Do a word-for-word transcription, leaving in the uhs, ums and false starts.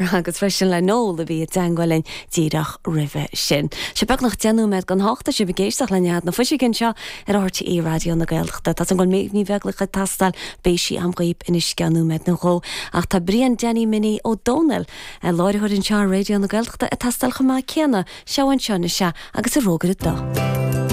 agus freisin le Noel a bhí i dteagmháil linn díreach roimhe sin. Sé beagnach deich nóiméad don hocht tá sibh ag éisteacht le Nead na Fuiseoige anseo ar RTÉ Raidió na Gaeltachta. Tá an bhfuil ní bheagla chu tastal bé sí am gaib in isceanúméid nó dhó ach tá Brian Danny Minnie Ó Dónaill láithreoir anseo Raidió na Gaeltachta ag teastáil chomh maith céanna seo anseo na se agus a rógur dó.